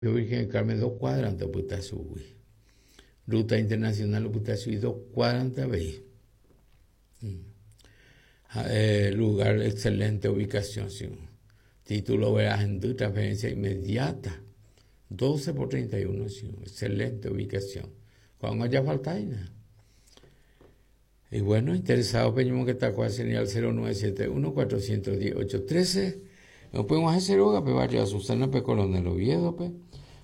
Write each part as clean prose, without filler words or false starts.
Virgen del Carmen dos cuadrante opyta chugui. Ruta Internacional opyta chugui dos cuadrante avei. Ha'e lugar excelente ubicación si. Título vera hendy transferencia inmediata. 12 por 31 si. Excelente ubicación. Ko'ág̃a jafaltáina. Y bueno, interesado peñomongeta kua señal 0971 410 813. Upeg̃uahẽ che rógape barrio Azucena pe Coronel Oviedo-pe.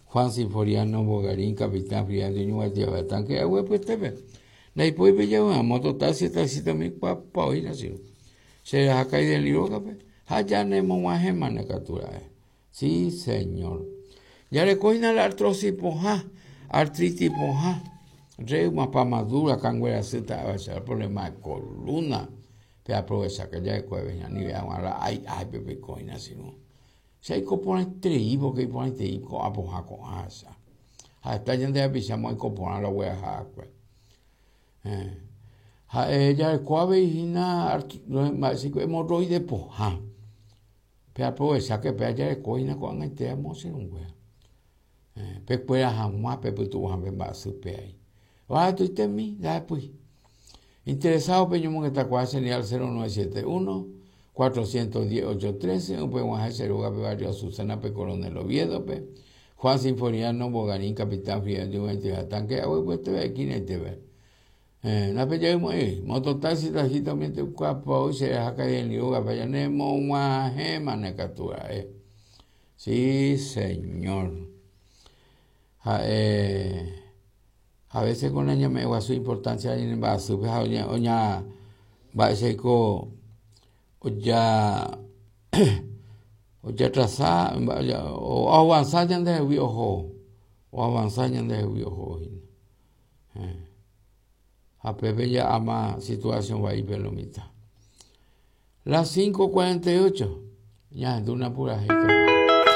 Juan Sinforiano Bogarín, capitán Friando Ñuguatiave tanque aguepyetépe. Ndaipói pejavy'ã moto, taxi, taxista umi kuapa oĩna che ru. Che raha Kaideli rógape ha janemog̃uahẽmane katu ra'e. Sí, señor. Jareko hína la artrosis pohã, artritis pohã, reuma, pamadura, kangue rasy ta'avaicha, problema de columna. Pe aprovechake jareko hína anive hag̃ua la ái áipe peiko hína che irũ. Che aiko porãiterei porque iporãiterei ko'ã pohã ko'ãcha. Ha heta ñande rapicha oiko porã la ogueraha va'ekue. Ha'e jareko avei hína mba'éicha hemorroide pohã. Pe aprovecháke péva jareko hína ko'ag̃aite amo che irũnguéra. Pekuera hag̃ua pepytu'u hag̃ua pe mba'asy péai. Baratoitemi ndahepýi. Interesado peñomongetakuaa che ndive al 0971 410 813 upe g̃uahẽ che rógape barrio Azucena pe Coronel Oviedo-pe, Juan Sinforiano Bogarín Capitán Fidel Ñuguaitĩ ha Tanque Aguepyeteve esquina-itépe. Héẽ, ndapejaymo'ãi, mototaxi taxista umi tykuapao che raha Karendy rógape ñanemog̃uahẽmane katu ra'e. Sí, señor. Ha'e a veces ko nañame'ẽ guasu importancia ñane mba'asýpe ha oña oña mba'éichaiko oja ojatrasa oavansa ñandehegui oho, oavansa ñandehegui oho hína. Ha pépe ja'áma situación vaípe lo mitã. Las 5:48, ñahendúna purahéi.